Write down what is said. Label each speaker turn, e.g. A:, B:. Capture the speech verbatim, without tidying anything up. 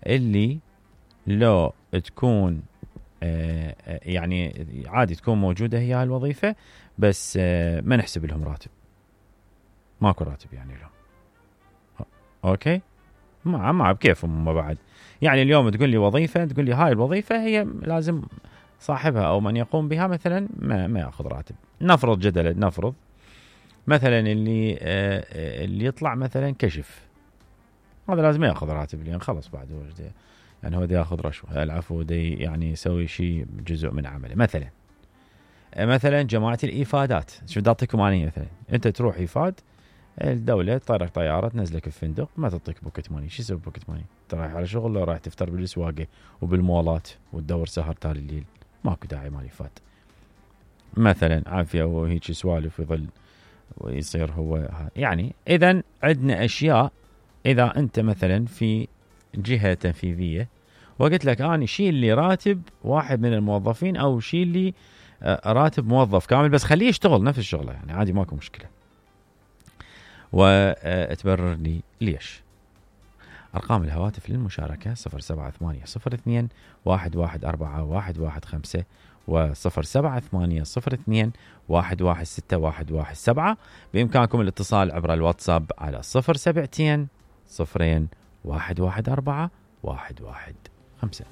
A: اللي لو تكون آه يعني عادي تكون موجودة هي هاي الوظيفة، بس آه ما نحسب لهم راتب، ماكو راتب يعني لهم. اوكي، ما ما بكيفهم ما بعد. يعني اليوم تقول لي وظيفة، تقول لي هاي الوظيفة هي لازم صاحبها او من يقوم بها مثلا ما ما ياخذ راتب. نفرض جدلا، نفرض مثلا اللي آه اللي يطلع مثلا كشف، هذا لازم ياخذ راتب، لان خلص بعد هو يعني هو دا ياخذ رشوة، العفو دي يعني يسوي شيء جزء من عمله. مثلا مثلا جماعة الإيفادات، شو بدي أعطيكم أنا مثلا، أنت تروح إيفاد، الدولة تطيرك طيارة تنزلك الفندق، ما تعطيك بوكت ماني. شو يسوي بوكت ماني؟ أنت رايح على شغل لو رايح تفطر بالسواقة وبالمولات وتدور سهر تالي الليل، ماكو داعي مال إيفاد مثلا. عافية وهيك سوالف يظل ويصير هو يعني. إذن عندنا أشياء، إذا أنت مثلا في جهة تنفيذية وقلت لك أنا شيل لي راتب واحد من الموظفين أو شيل لي راتب موظف كامل، بس خليه يشتغل نفس الشغلة يعني عادي ماكو مشكلة، وتبرر لي ليش. أرقام الهواتف للمشاركة صفر سبعة ثمانية صفر اثنين واحد واحد أربعة واحد واحد خمسة وصفر سبعة ثمانية صفر اثنين واحد واحد ستة واحد واحد سبعة. بإمكانكم الاتصال عبر الواتساب على صفر سبعتين صفرين واحد واحد أربعة واحد واحد خمسة.